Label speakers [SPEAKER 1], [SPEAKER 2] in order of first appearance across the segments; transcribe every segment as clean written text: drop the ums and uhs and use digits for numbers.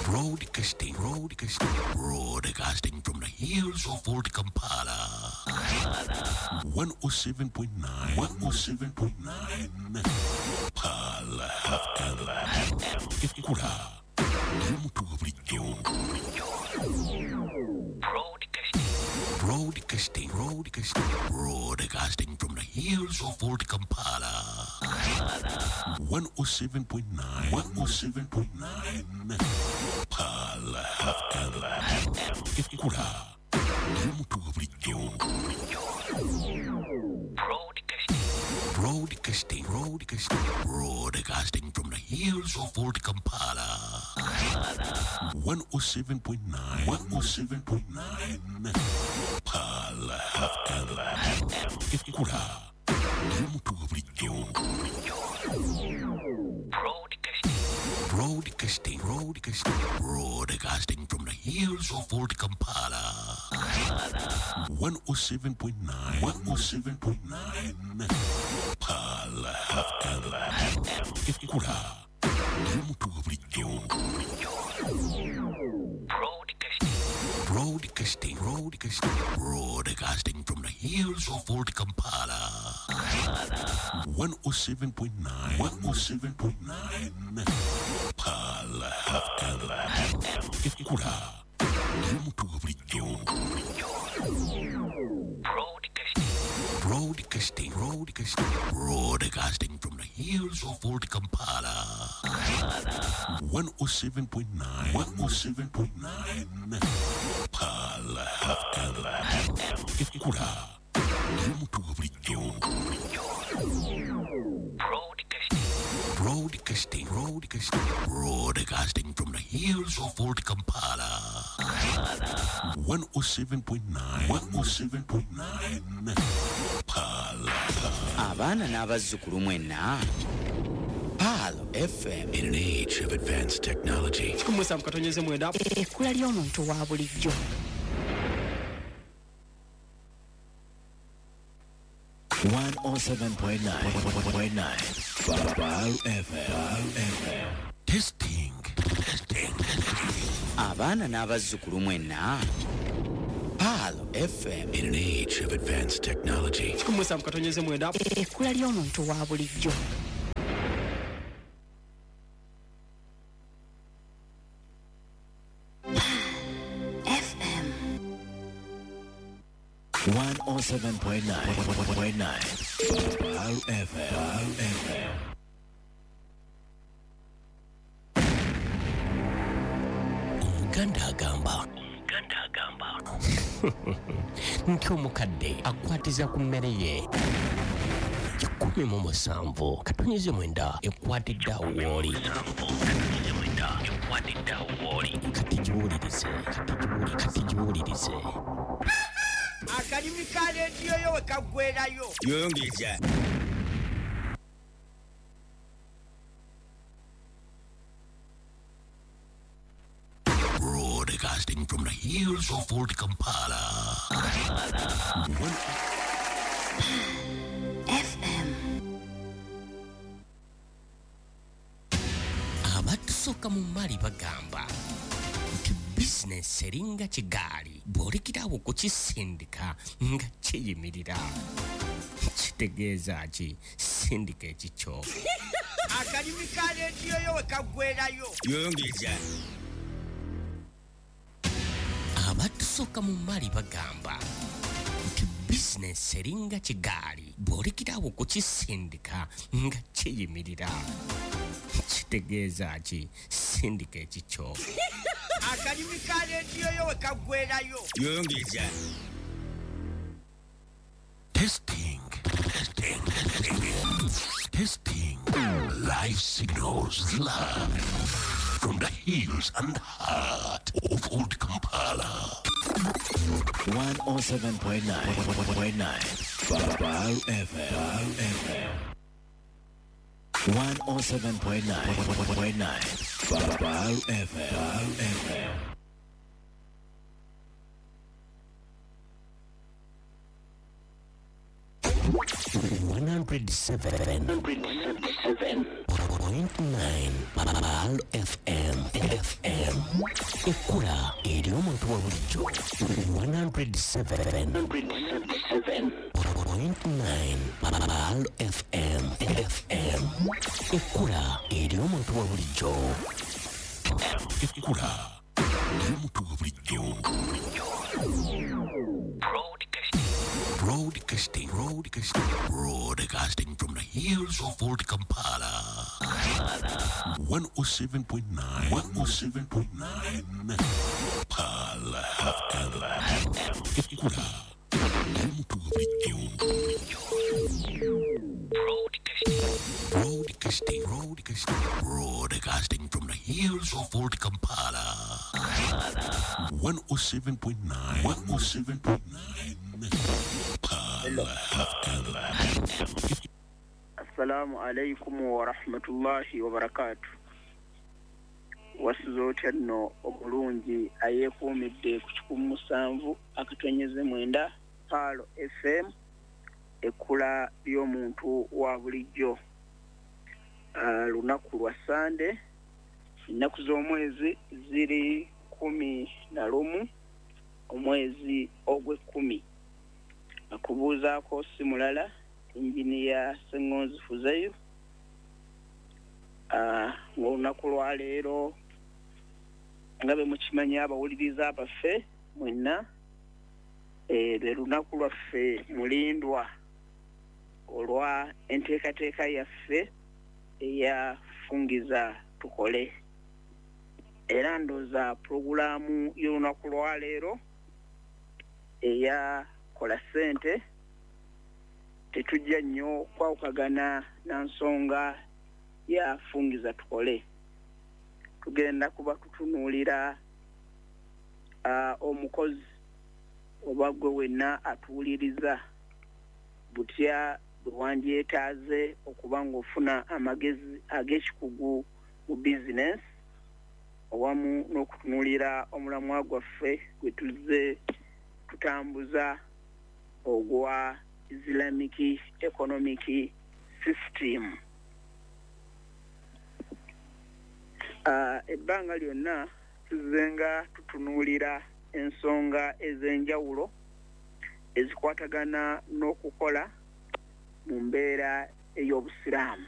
[SPEAKER 1] Broadcasting, broadcasting, broadcasting from the hills of Old Kampala. 107.9, 107.9. Pearl FM. Ekura. Yomutu bulijjo. Broadcasting, broadcasting, broadcasting, broadcasting from the hills of Old Kampala. 107.9, 107.9. Pearl FM. Ekura. Yomutu bulijjo. Broadcasting, broadcasting, broadcasting, broadcasting from the hills of Old Kampala. 107.9, 107.9. Pearl FM. Ekura. Yomutu bulijjo. Broadcasting, broadcasting, broadcasting, broadcasting from the hills of Old Kampala. 107.9, 107.9. Pearl FM. Ekura. Yomutu bulijjo. Broadcasting, broadcasting, broadcasting, broadcasting from the hills of Old Kampala. 107.9, 107.9. Pearl FM. Ekura. Yomutu bulijjo. Broadcasting, broadcasting, broadcasting, broadcasting from the hills of Old Kampala. 107.9, 107.9. Pearl FM. Ekura. Yomutu bulijjo. Broadcasting, broadcasting, broadcasting, broadcasting from the hills of Old Kampala. 107.9, 107.9. Pearl.
[SPEAKER 2] Abaana n'abazzukulu mwenna. Pearl FM.
[SPEAKER 1] In an age of advanced technology.
[SPEAKER 3] Ekkula ly'omuntu wa bulijjo.
[SPEAKER 4] 107.9 Pearl FM.
[SPEAKER 1] Testing, testing, testing.
[SPEAKER 2] Abaana n'abazzukulu mwenna. Pearl FM.
[SPEAKER 1] In an age of advanced technology.
[SPEAKER 3] Ekkula ly'omuntu wa bulijjo. FM.
[SPEAKER 4] 107.9 Pearl FM.
[SPEAKER 1] Omuganda agamba nti omukadde akwatiza ku mmere ye 17.9 ekwatidde awo wooli. Kati giwulirize, kati giwulirize.
[SPEAKER 5] Akalimi ka leediyo yo we kaggwerayo.
[SPEAKER 2] Yongeza.
[SPEAKER 1] Broadcasting from the hills of Old Kampala.
[SPEAKER 3] FM.
[SPEAKER 1] Abatusooka mu mali bagamba nti bizinesi eringa kigaali, bw'olekerawo okukisindika nga kiyimirira. Kitegeeza ki? Sindika ekikyo.
[SPEAKER 5] Akalimi ka leediyo yo we kaggwerayo.
[SPEAKER 2] Yongeza.
[SPEAKER 1] Abatusooka mu mali bagamba nti bizinesi eringa kigaali, bw'olekerawo okukisindika nga kiyimirira. Kitegeeza ki? Sindika ekikyo.
[SPEAKER 5] Akalimi ka leediyo yo we kaggwerayo.
[SPEAKER 2] Yongeza.
[SPEAKER 1] Testing, testing, testing, testing. Life signals live from the hills and heart of Old Kampala.
[SPEAKER 4] 107.9 Pearl FM. 107.9 Pearl FM.
[SPEAKER 1] 107.7 107.9 Pearl FM FM ekkula eri omuntu wa bulijjo 107.9 Pearl FM FM ekkula eri omuntu wa bulijjo ekkula eri omuntu wa bulijjo. Broadcasting, broadcasting, broadcasting from the hills of Old Kampala. 107.9, 107.9. Pearl FM. Ekkula. Broadcasting, broadcasting, broadcasting from the hills of Old Kampala. 107.9, 107.9.
[SPEAKER 6] Assalamu alaikum wa rahmatullahi wa barakatuh. Wasuze otya nno omulungi ayeekuumidde ku 107.9 Pearl FM, ekkula ly'omuntu wa bulijjo. Lunaku lwa Sande, ennaku z'omwezi ziri 11 omwezi ogw'ekkumi. Akubuuzaako si mulala Engineer Ssengonzi Fuzeyo. Ng'olunaku lwaleero nga bwe mukimanyi abawuliriza abaffe mwenna, lwe lunaku lwaffe mulindwa olwa enteekateeka yaffe eya Fungiza Tukole. Era ndowooza pulogulaamu y'olunaku lwaleero eya Kola Ssente tetujja nnyo kwawukagana na nsonga ya Fungiza Tukole. Tugenda kuba tutunuulira omukozi oba gwe wenna atuwuliriza butya bwe wandyetaaze okuba ng'ofuna amagezi ag'ekikugu mu bizinesi, awamu n'okutunuulira omulamwa gwaffe gwe tuzze tutambuza ogwa Islamic Economic System. Ebbanga lyonna tuzzenga tutunuulira ensonga ez'enjawulo ezikwatagana n'okukola mu mbeera ey'obusiraamu.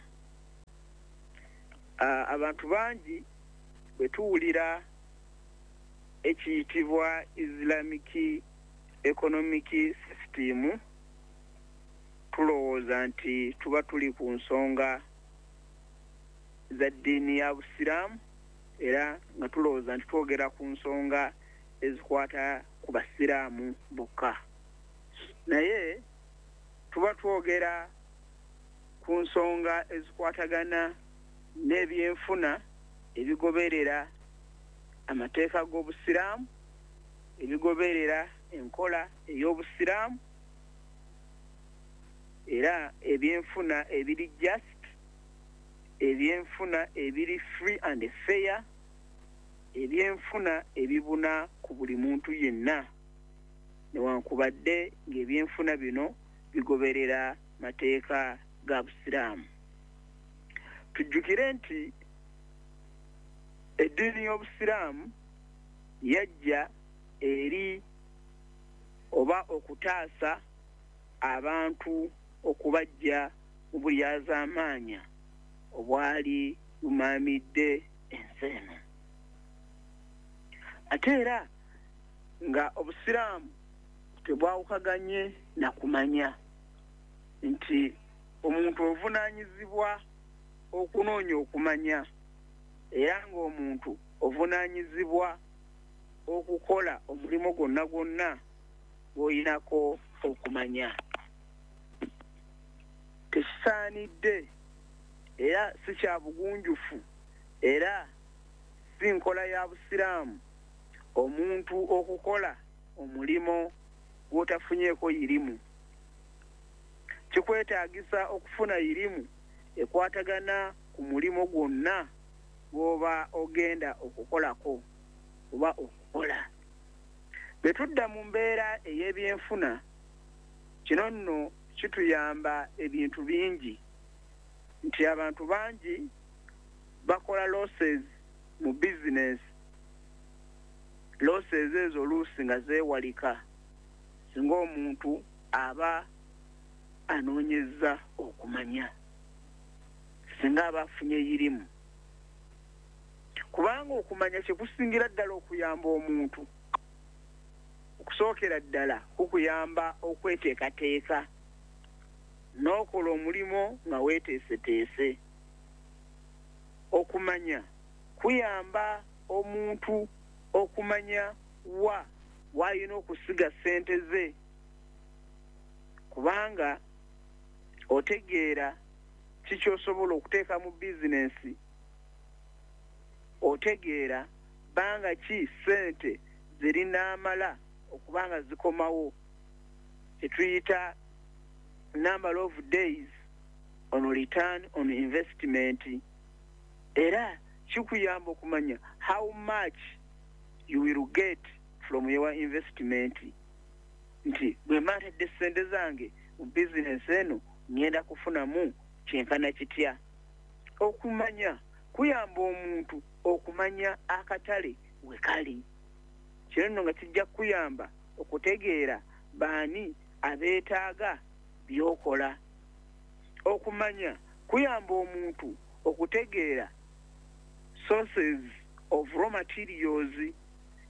[SPEAKER 6] Abantu bangi bwe tuwulira ekiyitibwa Islamic Economic System tulowooza nti tuba tuli ku nsonga za ddiini ya busiraamu, era nga tulowooza nti twogera ku nsonga ezikwata ku basiraamu bokka. Naye tuba twogera ku nsonga ezikwatagana n'ebyenfuna ebigoberera amateeka g'obusiraamu, ebigoberera enkola ey'obusiraamu, era ebyenfuna ebiri just, ebyenfuna ebiri free and fair, ebyenfuna ebibuna ku buli muntu yenna, newankubadde ng'ebyenfuna bino bigoberera mateeka ga busiraamu. Tujjukire nti eddiini y'obusiraamu yajja eri oba okutaasa abantu okubajja mu bulyazaamaanya obwali bumaamidde ensi eno. Ate era nga obusiraamu tebwawukaganye na kumanya nti omuntu ovunaanyizibwa okunoonya okumanya, era ng'omuntu ovunaanyizibwa okukola omulimu gwonna gwonna gw'oyinako okumanya. Tekisaanidde era si kya bugunjufu era si nkola ya busiraamu omuntu okukola omulimu gw'otafunyeeko yirimu. Kikwetaagisa okufuna yirimu ekwatagana ku mulimu gwonna gw'oba ogenda okukolako oba okukola. Bwe tudda mu mbeera ey'ebyenfuna, kino nno kituyamba ebintu bingi, nti abantu bangi Okola losses mu bizinesi, losses ezo oluusi nga zeewalika singa omuntu aba anoonyezza okumanya, singa aba afunye yirimu. Kubanga okumanya kyekusingira ddala okuyamba omuntu, okusookera ddala kukuyamba okweteekateeka n'okola omulimu nga weeteeseteese. Okumanya kuyamba omuntu okumanya wa w'alina okusiga ssente ze, kubanga otegeera ki ky'osobola okuteeka mu bizinensi, otegeera bbanga ki ssente zirinaamala okubanga zikomawo, kyetuyita number of days on return on investment. Era kikuyamba okumanya how much you will get from your investment, nti bwe mba ntadde ssente zange mu bizinensi eno ngenda kufunamu kyenkana kitya. Okumanya kuyamba omuntu okumanya akatale we kali. Kino nno nga kijja kukuyamba okutegeera baani abeetaaga by'okola. Okumanya kuyamba omuntu okutegeera sources of raw materials,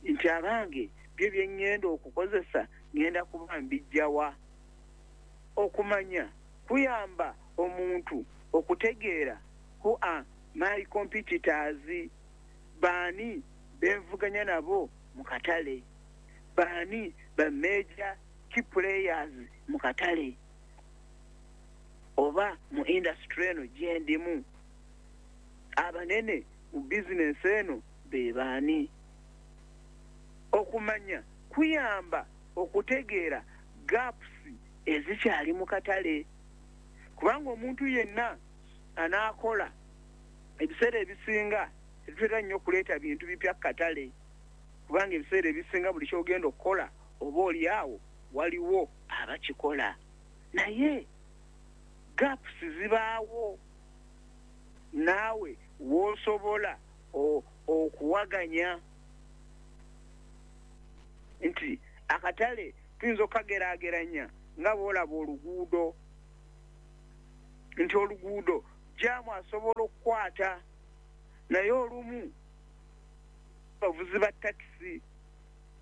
[SPEAKER 6] nti abange byo bye ŋŋenda okukozesa ŋŋenda kuba mbijjawa. Okumanya kuyamba omuntu okutegeera who are my competitors, baani benvuganya nabo mu katale, baani ba major key players mu katale oba mu industry eno gyendimu, abanene mu bizinensi eno be baani. Okumanya kuyamba okutegeera gaps ezikyali mu katale, kubanga omuntu yenna anaakola ebiseera ebisinga tetutera nnyo okuleeta bintu bipya ku katale, kubanga ebiseera ebisinga buli ky'ogenda okukola oba oli awo waliwo abakikola, naye gaps zibaawo naawe w'osobola okuwaganya nti akatale tuyinza okukageraageranya nga bw'olaba oluguudo, nti oluguudo jaamu asobola okukwata, naye olumu abavuzi ba takisi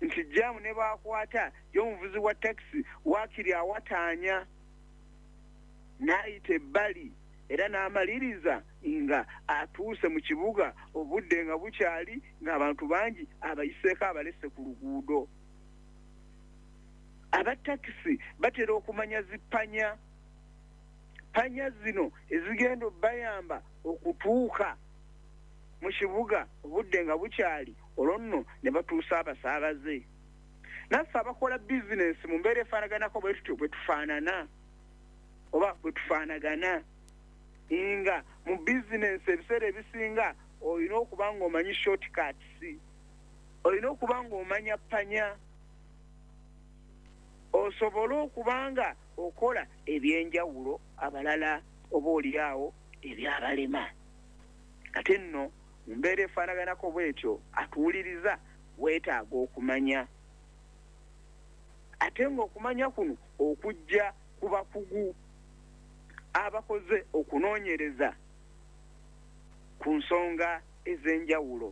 [SPEAKER 6] nti jaamu ne baakwata ye omuvuzi wa takisi waakiri awataanya n'ayita ebbali era n'amaliriza nga atuuse mu kibuga obudde nga bukyali, ng'abantu bangi abayiseeko abalese ku luguudo. Abatakisi batera okumanya zipanya panya zino ezigenda obbayamba okutuuka mu kibuga obudde nga bukyali, olwo nno ne batuusa abasaabaze. Naffe abakola bizinensi mu mbeera efaanaganako bwe tutyo bwe tufaanana oba bwe tufaanagana, nga mu bizinensi ebiseera ebisinga olina okuba ng'omanyi shortcuts, olina okuba ng'omanya panya osobola okuba nga okola ebyenjawulo abalala oba oli awo ebyabalema. Ate nno mu mbeera efaanaganako bwetyo atuwuliriza weetaaga okumanya, ate ng'okumanya kuno okujja ku bakugu abakoze okunoonyereza ku nsonga ez'enjawulo.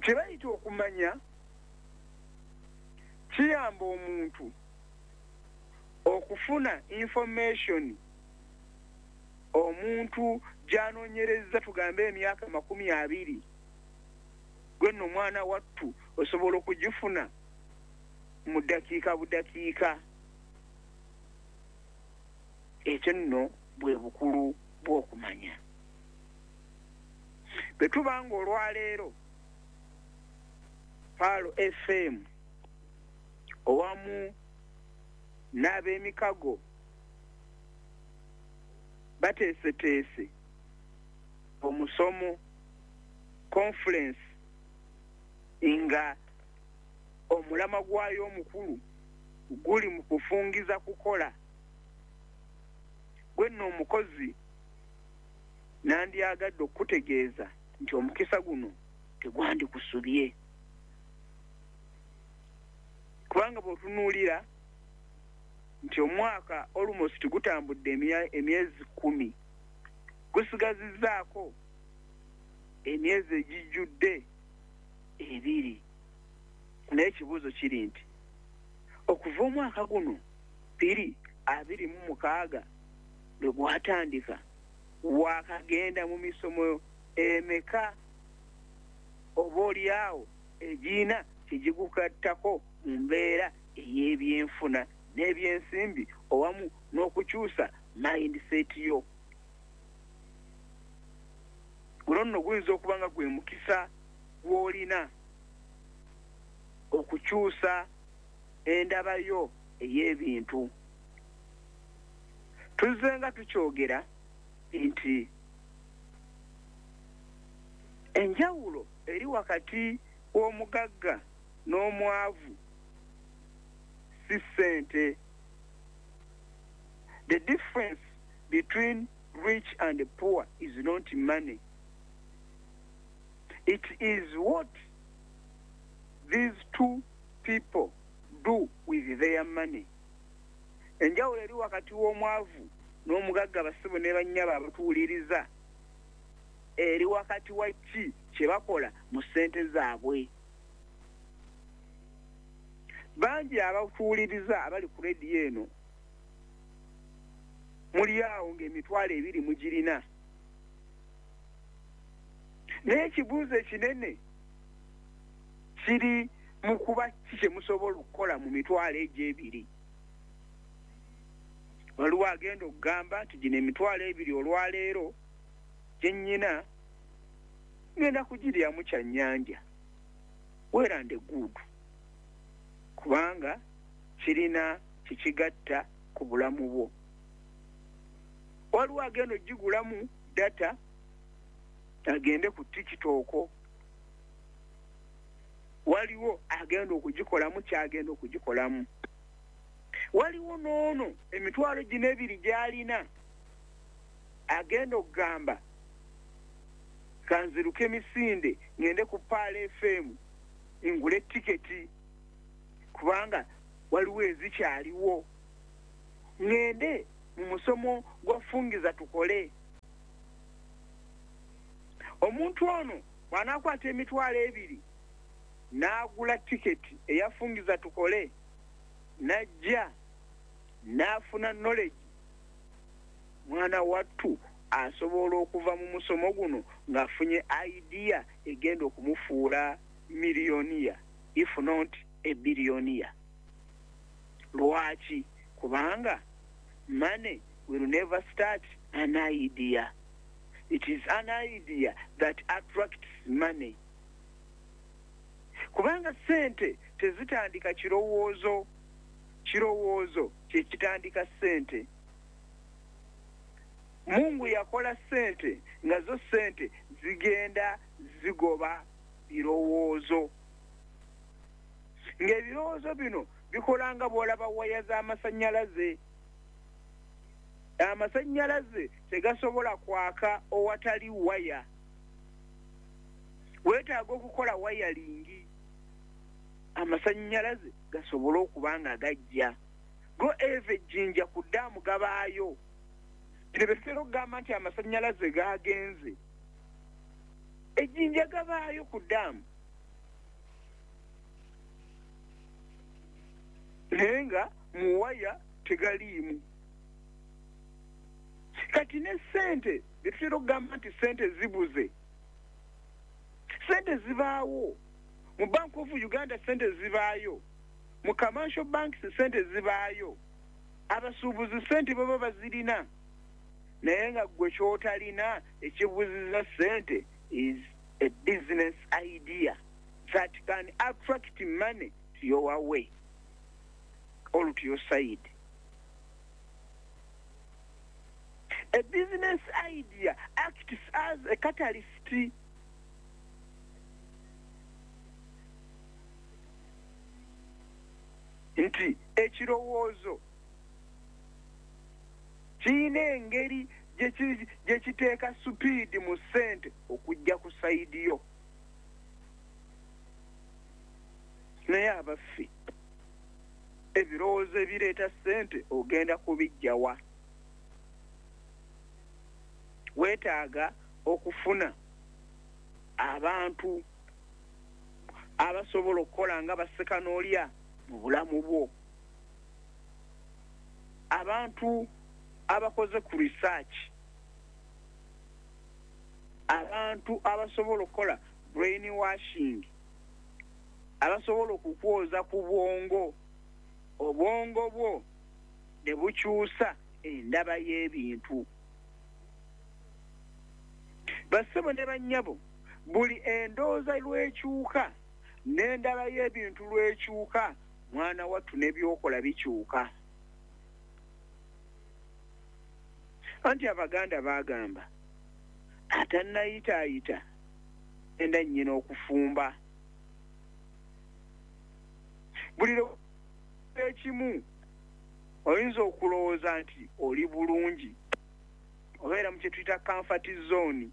[SPEAKER 6] Kye bayita okumanya kiyamba omuntu okufuna information omuntu gy'anoonyereza, tugambe emyaka 20, gwe nno omwana wattu osobola okugifuna mu ddakiika budakiika. Ekyo nno bwe bukulu bw'okumanya. Bwe tuba nga olwaleero Pearl FM owamu n'ab'emikago bateeseteese omusomo conference nga omulama gwayo omukulu guli mu kufungiza kukola, gwe nno omukozi Nandyagadde okukutegeeza nti omukisa guno tegwandikusubye, kubanga bw'otunuulira nti omwaka almost gutambudde emyezi 10, gusigazizzaako emyezi egijjudde 2. Naye ekibuuzo kiri nti okuva omwaka guno 2026 lwe gwatandika, wakagenda mu misomo emeka oba oliawo egina kyegigukattako mu mbeera ey'ebyenfuna n'ebyensimbi owamu n'okukyusa mindset yo? Guno nno guyinza okuba nga gwe mukisa gw'olina okukyusa endaba yo ey'ebintu. Tuzze nga tukyogera nti enjawulo eri wakati w'omugagga n'omwavu si ssente. The difference between rich and poor is not money. It is what these two people do with their money. Enjawulo eri wakati w'omwavu n'omugagga, basibo ne bannyabo abatuwuliriza, eri wakati wa ki kye bakola mu ssente zaabwe. Bangi abatuwuliriza abali ku rediyo eno muli awo ng'emitwalo 2 mugirina, naye ekibuuzo ekinene kiri mu kuba ki kye musobola okukola mu mitwalo egyo 2. Waliwo agenda okugamba nti gino emitwalo 2 olwaleero gye nnyina ngenda kugiryamu kyannyanja, well and good, kubanga kirina kikigatta ku bulamu bwo. Waliwo agenda ogigulamu data agende ku TikTok, waliwo agenda okugikolamu kyagenda okugikolamu. Waliwo n'ono emitwalo gino 2 gy'alina agenda okugamba kanziruke emisinde ngende ku Pearl FM ngule tiketi, kubanga waliwo ezikyaliwo, ngende mu musomo gwa Fungiza Tukole. Omuntu ono bw'anaakwata emitwalo 2 n'agula tiketi eyafungiza Tukole, n'ajja n'afuna knowledge, mwana wattu asobola okuva mu musomo guno ng'afunye idea egenda okumufuula millionaire, if not a billionaire. Lwaki? Kubanga money will never start an idea. It is an idea that attracts money. Kubanga ssente tezitandika kirowoozo, kirowoozo kye kitandika ssente. Mungu yakola ssente nga zo ssente zigenda zigoba birowoozo, ng'ebirowoozo bino bikola nga bw'olaba waya z'amasannyalaze. Amasannyalaze tegasobola kwaka owatali waya. Weetaaga okukola wayalingi amasannyalaze gasobole okuba nga gajja. Go eva ejjinja ku ddaamu gabaayo. Bino bye tutera okugamba nti amasannyalaze gagenze, ejjinja gabaayo ku ddaamu, naye nga mu waya tegaliimu. Kati ne ssente bye tutera okugamba nti ssente zibuze, ssente zibaawo mu Bank of Uganda, ssente zibaayo mu commercial banks, ssente zibaayo, abasuubuzi ssente baba bazirina, naye nga gwe ky'otalina ekibuziza ssente is a business idea that can attract money to your way or to your side. A business idea acts as a catalyst. Nti ekirowoozo kirina engeri gye kiteeka supiidi mu ssente okujja ku sayidi yo. Naye abaffe, ebirowoozo ebireeta ssente ogenda kubijjawa? Weetaaga okufuna abantu abasobola okukola nga bassekanoolya mu bulamu bwo, abantu abakoze ku research, abantu abasobola okukola brain washing, abasobola okukwoza ku bwongo, obwongo bwo ne bukyusa endaba y'ebintu. Bassebo ne bannyabo, buli endowooza lw'ekyuka n'endaba y'ebintu lw'ekyuka, mwana wattu n'ebyokola bikyuka. Anti Abaganda baagamba atannayitaayita enda nnyina okufumba. Buli ekimu oyinza okulowooza nti oli bulungi, obeera mu kye tuyita comfort zone,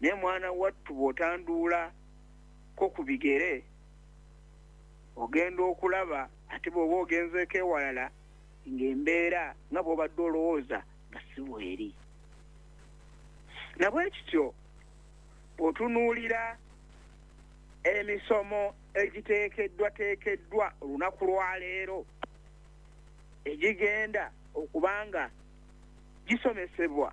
[SPEAKER 6] naye mwana wattu bw'otanduula ko ku bigere ogenda okulaba ate bw'oba ogenzeeko ewalala ng'embeera nga bw'obadde olowooza nga si bw'eri. Nabwe kityo bw'otunuulira emisomo egiteekeddwateekeddwa olunaku lwaleero egigenda okubanga gisomesebwa,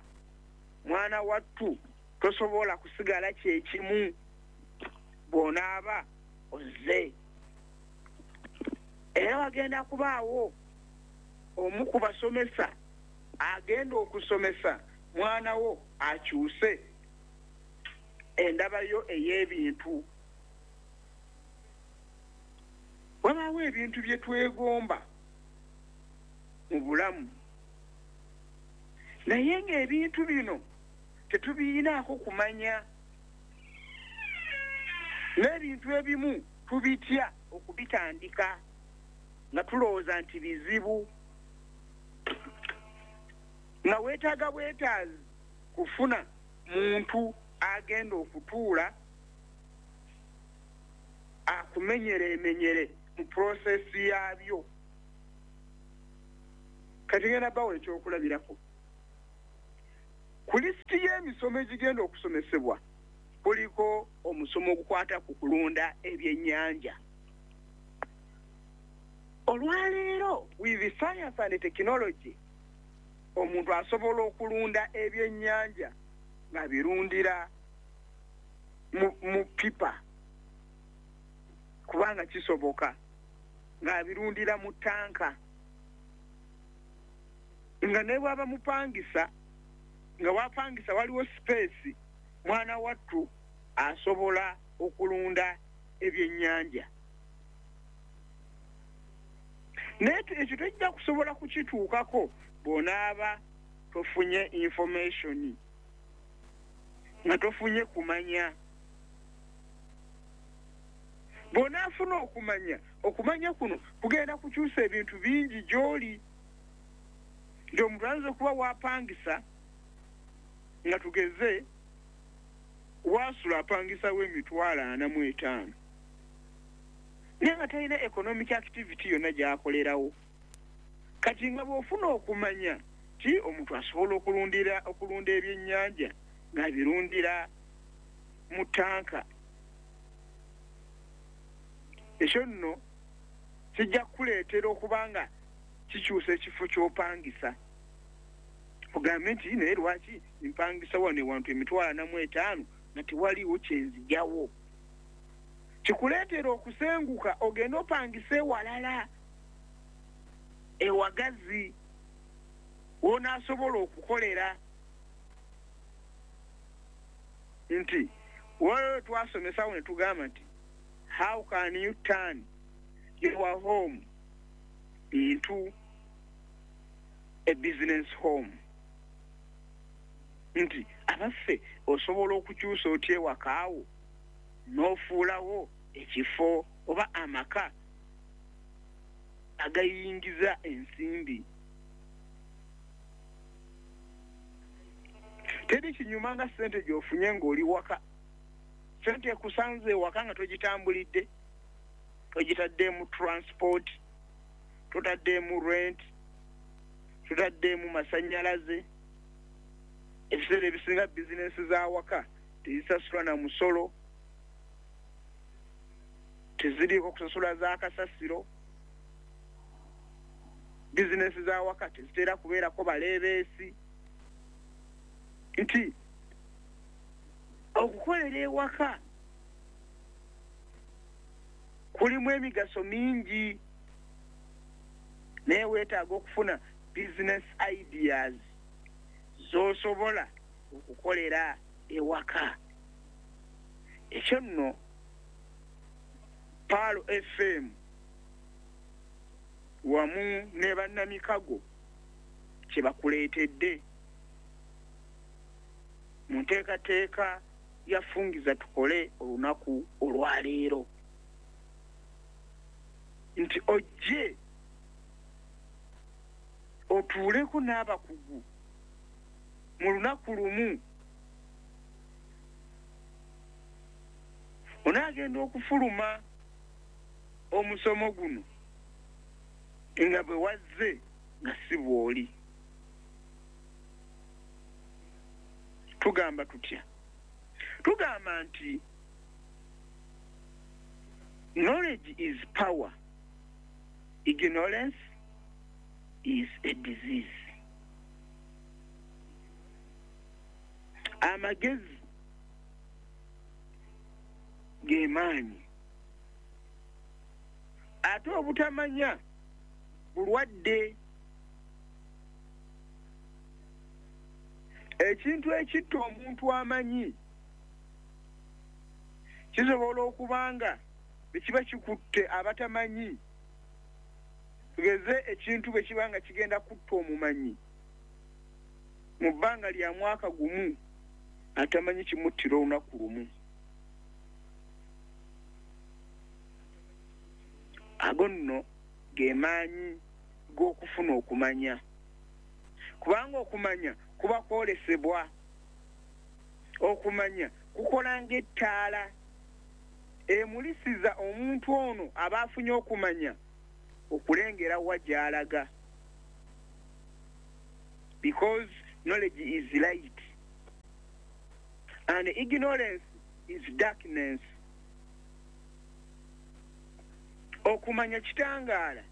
[SPEAKER 6] mwana wattu tosobola kusigala kyekimu bw'onaaba ozze. Era wagenda kubaawo omu ku basomesa agenda okusomesa mwana wo akyuse endaba yo ey'ebintu. Wabaawo ebintu bye twegomba mu bulamu, naye ng'ebintu bino tetubiyinaako kumanya, n'ebintu ebimu tubitya okubitandika nga tulowooza nti bizibu, nga weetaaga bwetaazi kufuna muntu agenda okutuula akumenyere emenyere mu prosesi yaabyo. Kati ngenda bawa ekyokulabirako. Ku lisiti y'emisomo egigenda okusomesebwa kuliko omusomo ogukwata ku kulunda ebyennyanja. Olwaleero with science and technology, omuntu asobola okulunda ebyennyanja ng'abirundira mu pipa, kubanga kisoboka, ng'abirundira mu tanka, nga ne bw'aba mupangisa, nga wapangisa waliwo space, mwana wattu asobola okulunda ebyennyanja. Naye ekyo tojja kusobola kukituukako bw'onaaba tofunye information, nga tofunye kumanya. Bw'onaafuna okumanya, okumanya kuno kugenda kukyusa ebintu bingi gy'oli. Nti omuntu ayinza okuba wapangisa, nga tugeze waasula apangisawo 45,000, naye nga talina economic activity yonna gy'akolerawo. Kati nga bw'ofuna okumanya ti omuntu asobola okulunda ebyennyanja ng'abirundira mu tanka, ekyo nno kijja kukuleetera okuba nga kikyusa ekifo ky'opangisa. Ogambe nti naye lwaki mpangisa wano ewantu 45,000 nga tewaliiwo kyenzigyawo? Kikuleetera okusenguka ogende opangise ewalala ewagazi w'onaasobola okukolera. Nti waliwo twasomesawo ne tugamba nti how can you turn your home into a business home? Nti abaffe osobola okukyusa otya ewakaawo n'ofuulawo ekifo oba amaka agayingiza ensimbi. Teri kinyuma nga ssente gy'ofunye ng'oli waka. Ssente ekusanze ewaka nga togitambulidde, togitaddemu transport, totaddemu rent, totaddemu masannyalaze. Ebiseera ebisinga bizinensi za waka tezisasulwa na musolo, teziriiko kusasula za kasasiro. Bizinensi za waka tezitera kubeerako baleebeesi. Nti okukolera ewaka kulimu emigaso mingi, naye weetaaga okufuna business ideas z'osobola okukolera ewaka. Ekyo nno Pearl FM wamu ne bannamikago kye bakuleetedde mu nteekateeka ya Fungiza Tukole olunaku olwaleero, nti ojje otuuleko n'abakugu mu lunaku lumu. Onaagenda okufuluma omusomo guno nga bwe wazze nga si bw'oli. Tugamba tutya? Tugamba nti knowledge is power, ignorance is a disease. Amagezi ge maanyi, ate obutamanya bulwadde. Ekintu ekitta omuntu amanyi kisobola okuba nga bwe kiba kikutte abatamanyi. Tugeze ekintu bwe kiba nga kigenda kutta omumanyi mu bbanga lya mwaka gumu, atamanyi kimuttira olunaku lumu. Ago nno ge maanyi g'okufuna okumanya, kubanga okumanya kuba kwolesebwa. Okumanya kukola ng'ettaala emulisiza omuntu ono aba afunye okumanya okulengera wa gy'alaga, because knowledge is light and ignorance is darkness. Okumanya kitangaala,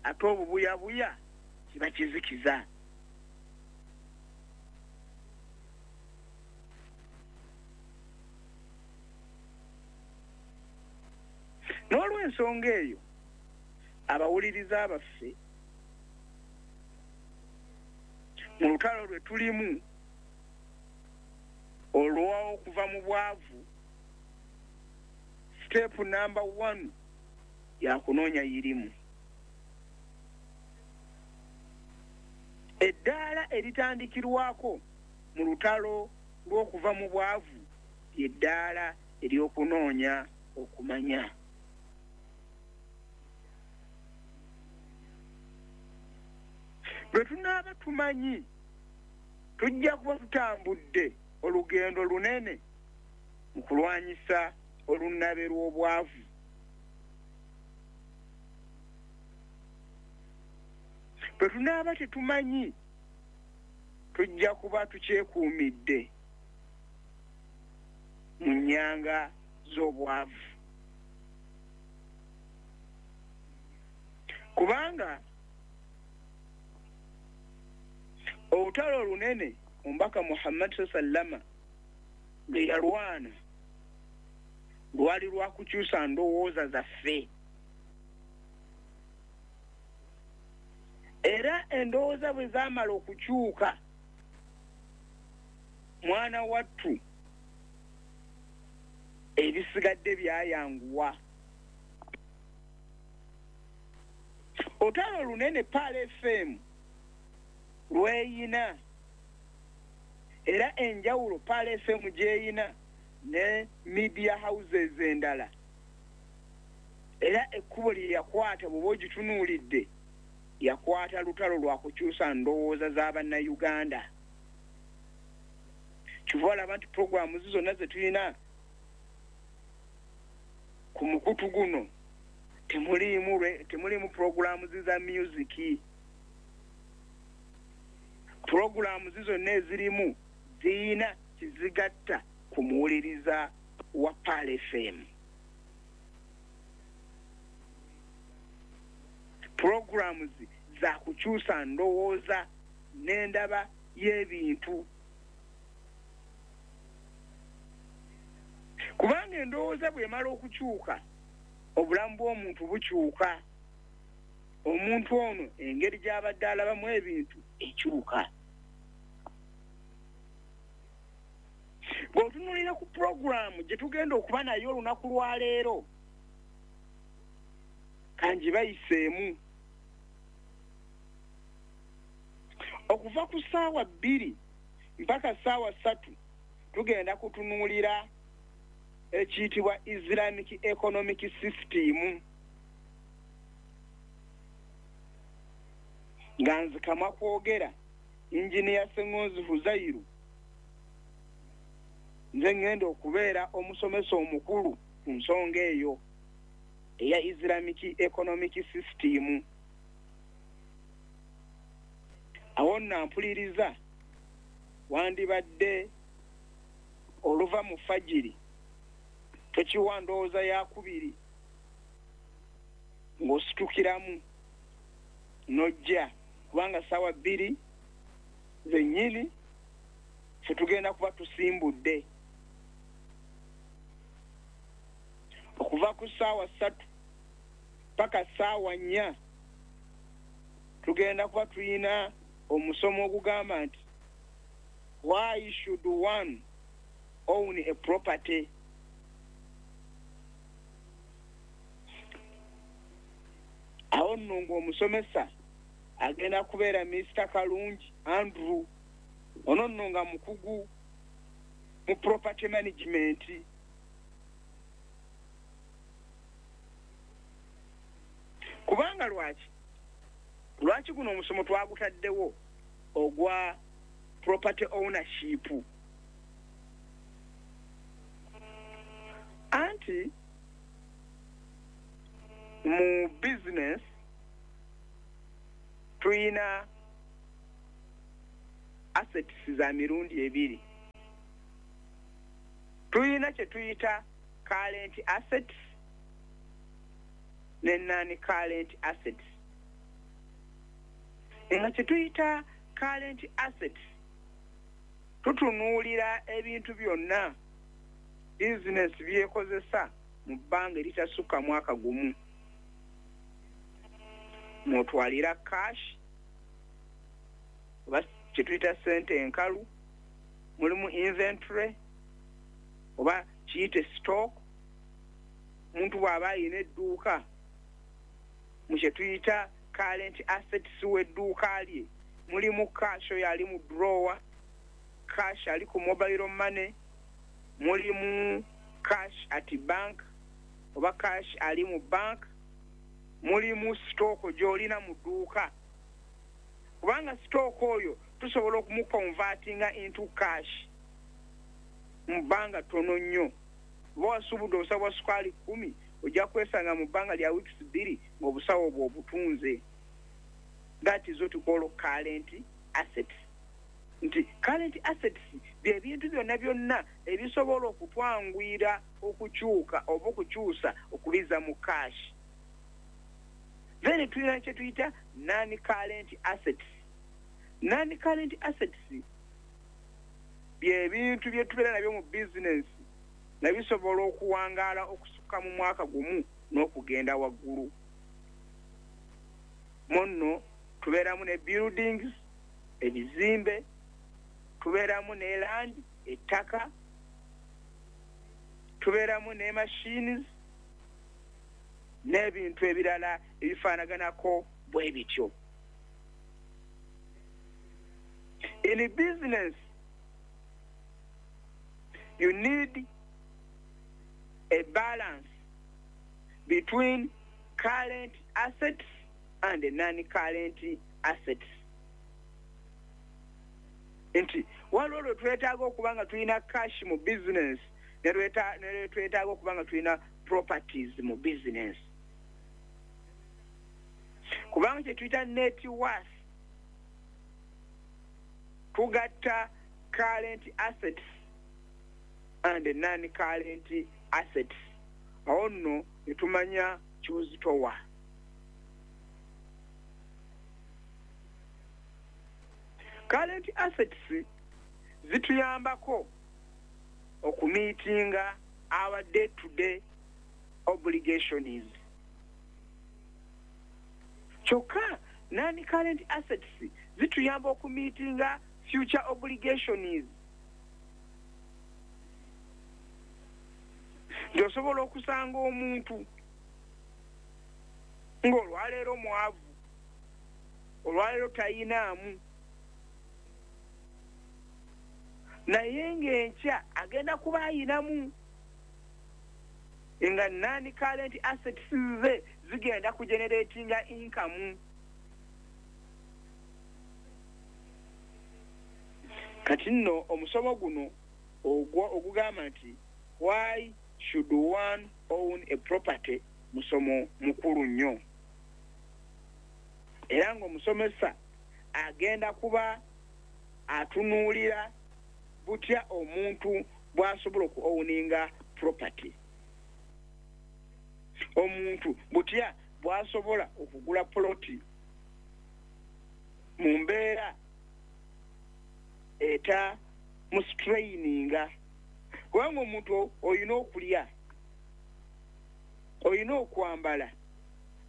[SPEAKER 6] ate obubuyabuya kiba kizikiza. N'olw'ensonga eyo, abawuliriza baffe, mu lutalo lwe tulimu olw'okuva mu bwavu, step number 1 yakunoonya irimu. Eddaala eritandikirwako mu lutalo lw'okuva mu bwavu ly'eddaala ery'okunoonya okumanya. Bwe tunaaba tumanyi, tujja kuba tutambudde olugendo lunene mu kulwanyisa olunnabe lw'obwavu. Bwe tunaaba tetumanyi, tujja kuba tukyekuumidde mu nnyanga z'obwavu, kubanga olutalo olunene omubaka Muhammad sallama lwe yalwana lwali lwa kukyusa ndowooza zaffe, era endowooza bwe zaamala okukyuka, mwana wattu ebisigadde byayanguwa. Olutalo olunene Pearl FM lweyina, era enjawulo Pearl FM gyeyina ne media houses endala, era ekkubo lye yakwata bw'oba ogitunuulidde, yakwata lutalo lwa kukyusa ndowooza z'abannayuganda. Kyova olaba nti puroguramu zonna ze tulina ku mukutu guno temuliimu puroguramu za music. Puroguramu zonna ezirimu ziyina kizigatta ku muwuliriza wa Pearl FM. Puroguramu za kukyusa ndowooza n'endaba y'ebintu, kubanga endowooza bw'emala okukyuka obulamu bw'omuntu bukyuka. Omuntu ono engeri gy'abadde alabamu ebintu ekyuka. Bw'otunuulira ku puroguramu gye tugenda okuba nayo olunaku lwaleero, kangibayiseemu. Okuva ku ssaawa 2 mpaka ssaawa 3 tugenda kutunuulira ekiyitibwa Islamic Economic System, nga nzikamwa kwogera Engineer Ssengonzi Huzairu, nze ngenda okubeera omusomesa omukulu ku nsonga eyo eya Islamic Economic System. Awo nno mpuliriza wandibadde oluva mu fajiri tokiwa ndowooza yakubiri ng'ositukiramu n'ojja, kubanga ssaawa 2 zennyini ffe tugenda kuba tusimbudde. Okuva ku ssaawa 3 paka ssaawa 4 tugenda kuba tulina omusomo ogugamba nti why should one own a property. Awo nno ng'omusomesa agenda kubeera Mr. Kalungi Andrew, ono nno nga mukugu mu property management. Kubanga lwaki guno omusomo twagutaddewo ogwa property ownership? Anti mu business tulina assets za mirundi ebiri. Tulina kye tuyita current assets ne non-current assets. Nga kye tuyita current assets tutunuulira ebintu byonna business byekozesa mu bbanga eritasukka mwaka gumu. Mwotwalira cash oba kye tuyita ssente enkalu, mulimu inventory oba kiyite stock. Omuntu bw'aba ayina edduuka, mu kye tuyita current assets w'edduuka lye mulimu cash oyo ali mu drawer, cash ali ku mobile money, mulimu cash at bank oba cash ali mu bank, mulimu stock gy'olina mu dduuka. Kubanga stock oyo tusobola okumuconvertinga into cash mu bbanga ttono nnyo. Oba wasuubudde obusawo bwa sukaali 10, ojja kwesanga mu bbanga lya weeks 2 ng'obusawo obwo obutunze. That is what we call current assets. Nti current assets bye bintu byonna byonna ebisobola okutwanguyira okukyuka oba okukyusa okubiza mu cash. Then tulina kye tuyita non-current assets. Non-current assets bye bintu bye tubeera nabyo mu business nga bisobola okuwangaala okusukka mu mwaka gumu n'okugenda waggulu. Munno tubeeramu ne buildings, ebizimbe, tubeeramu ne land, ettaka, tubeeramu ne machines n'ebintu ebirala ebifaanaganako bwe bityo. In business, you need a balance between current assets and non-current assets. Nti waliwo lwe twetaaga okuba nga tulina cash mu business, ne twetaaga okuba nga tulina properties mu business. Kubanga kye tuyita net worth, tugatta current assets and non-current assets. Awo nno ne tumanya ky'ozitowa. Current assets zituyambako okumeetinga our day-to-day obligations. Kyokka non-current assets zituyamba okumeetinga future obligations. Nti osobola okusanga omuntu ng'olwaleero mwavu, olwaleero tayinaamu, naye ng'enkya agenda kuba ayinamu, nga non-current assets ze zigenda kugeneratinga income. Kati nno omusomo guno ogugamba nti why should one own a property, musomo mukulu nnyo, era ng'omusomesa agenda kuba atunuulira butya omuntu bw'asobola oku-owninga property, omuntu butya bw'asobola okugula poloti mu mbeera eta mustraininga. Kubanga omuntu olina okulya, olina okwambala,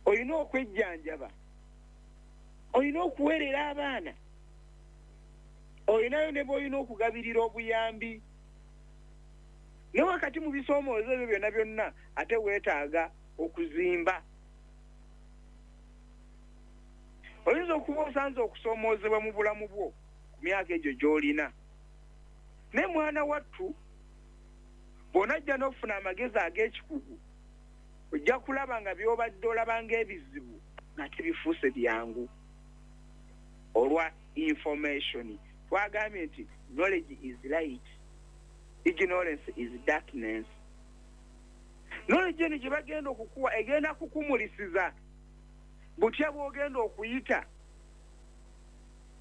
[SPEAKER 6] olina okwejjanjaba, olina okuweerera abaana, olinayo ne bw'olina okugabirira obuyambi. Ne wakati mu bisoomoozo ebyo byonna byonna ate weetaaga okuzimba. Oyinza okuba osanze okusoomoozebwa mu bulamu bwo ku myaka egyo gy'olina, naye mwana wattu bw'onajja n'ofuna amagezi ag'ekikugu, ojja kulaba nga by'obadde olaba ng'ebizibu nga tebifuuse byangu olwa information. Twagambye nti knowledge is light, ignorance is darkness. Knowledge eno gye bagenda okukuwa egenda kukumulisiza butya bw'ogenda okuyita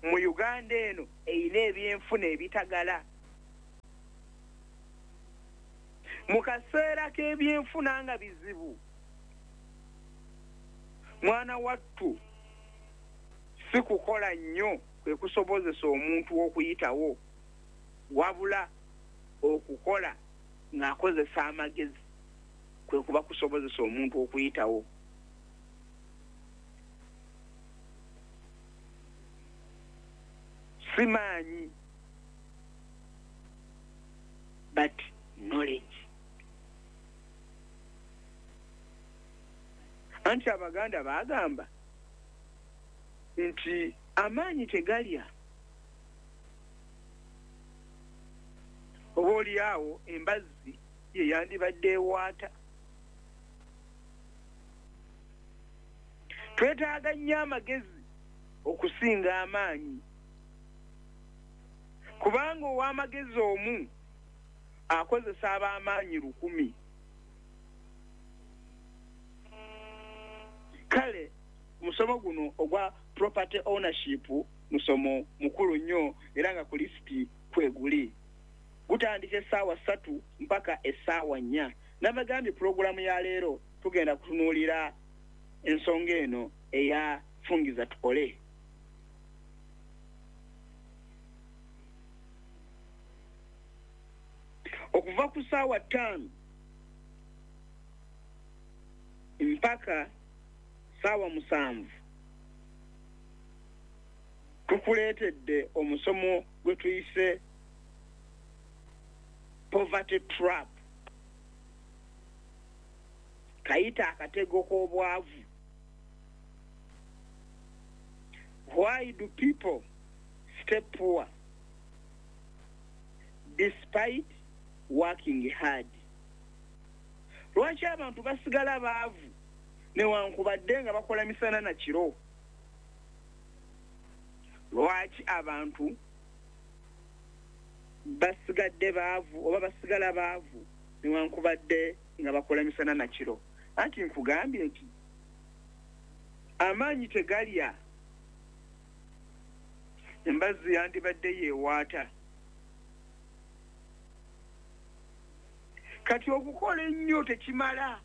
[SPEAKER 6] mu Uganda eno eyina ebyenfuna ebitagala. Mu kaseera k'ebyenfuna nga bizibu, mwana wattu si kukola nnyo kwe kusobozesa omuntu okuyitawo, wabula okukola ng'akozesa amagezi kwe kuba kusobozesa omuntu okuyitawo. Si maanyi, but knowledge. Anti Abaganda baagamba nti amaanyi tegalya, oba oli awo embazzi ye yandibadde ewaata. Twetaaga nnyo amagezi okusinga amaanyi, kubanga ow'amagezi omu akozesa ab'amaanyi 1000. Kale musomo guno ogwa property ownership musomo mukulu nnyo, era nga ku lisiti kweguli. Gutandika essaawa 3 mpaka essaawa 4. Nabagambye pulogulaamu ya leero tugenda kutunuulira ensonga eno eya fungiza tukole. Okuva ku ssaawa 5 mpaka ssaawa 7 tukuleetedde omusomo gwe tuyise poverty trap, kayita akatego k'obwavu. Why do people stay poor despite working hard? Lwaki abantu basigala baavu newankubadde nga bakola misana na kiro? Lwaki abantu Basigadde baavu oba basigala baavu newankubadde nga bakola misana na kiro. Anti nkugambye nti amaanyi tegalya, embazzi yandibadde yeewaata. Kati okukola ennyo tekimala.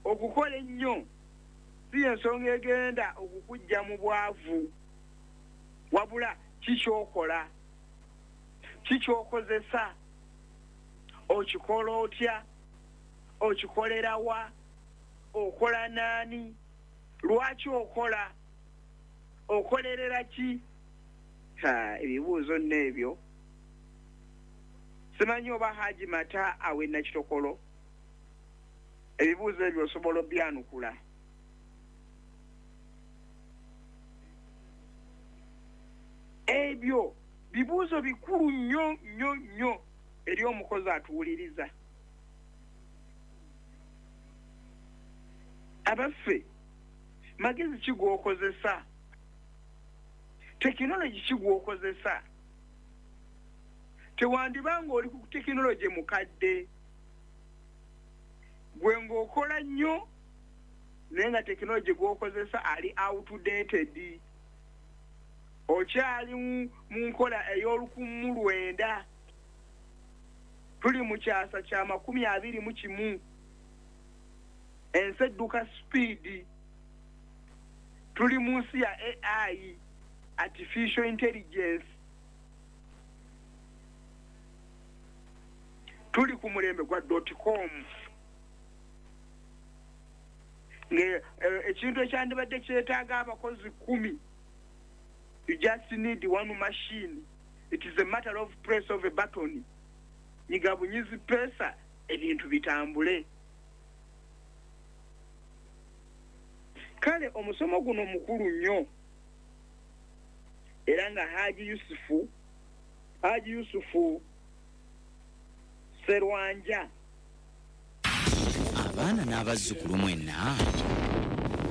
[SPEAKER 6] Okukola ennyo si ensonga egenda okukujja mu bwavu, wabula kikyokola, kikyokozesa, okikola otya, okikolerawa, okola naani, lwaki okola, okolerera ki? Ebibuuzo nno ebyo simanyi oba Haji Mata awe Nakitokolo ebibuuzo ebyo osobola obyanukula. Ebyo bibuuzo bikulu nnyo nnyo nnyo eri omukozi atuwuliriza. Abaffe, magezi ki g'okozesa? Tekinologi ki gw'okozesa? Tewandibanga oli ku tekinologi mukadde, gwe ng'okola nnyo naye nga tekinologi gw'okozesa ali outdated, okyali mu nkola ey'olukumi 1900. Tuli mu kyasa kya 21, ensi edduka speed. Tuli mu nsi ya AI, artificial intelligence. Tuli ku mulembe gwa .com. Ekintu ekyandibadde kyetaaga abakozi 10, you just need one machine. It is a matter of press of a button. Nyiga bunyizi pesa, ebintu bitambule. Kale omusomo guno mukulu nnyo, era nga Haji Yusufu Serwanja.
[SPEAKER 2] Abaana n'abazzukulu mwenna,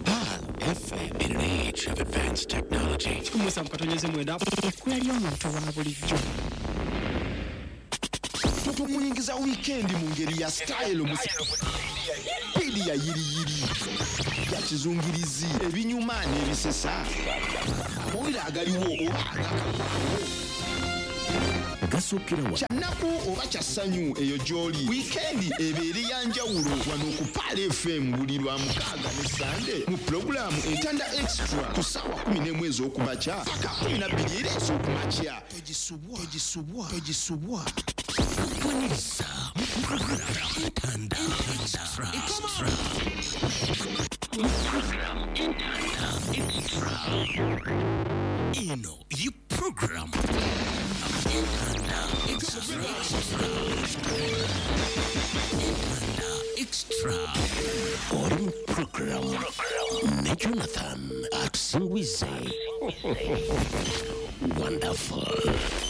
[SPEAKER 2] Pearl FM.
[SPEAKER 1] In an age of advanced technology,
[SPEAKER 7] 17.9.
[SPEAKER 3] Ekkula ly'omuntu wa bulijjo.
[SPEAKER 8] Tukuyingiza wiikendi mu ngeri ya style, mu speed ya yiriyiri, ya kizungirizi, ebinyuma n'ebisesa, amawulire agaliwo oba agakagwawo.
[SPEAKER 1] Gasuukira wa
[SPEAKER 8] Kyannaku oba kya ssanyu, eyo gy'oli, wiikendi ebeere ya njawulo wano ku Pearl FM buli lwa mukaaga ne Sande mu pulogulaamu Entanda Extra ku ssaawa 11 ez'okumakya paka 12 era ez'okumakya.
[SPEAKER 1] Togisubwa, togisubwa, togisubwa. Tukwaniriza mu program Entanda Extra. Mu program Entanda Extra, eno ye program Entanda Extra. Entanda Extra, oli mu program ne Jonathan Atusingwize. Wonderful.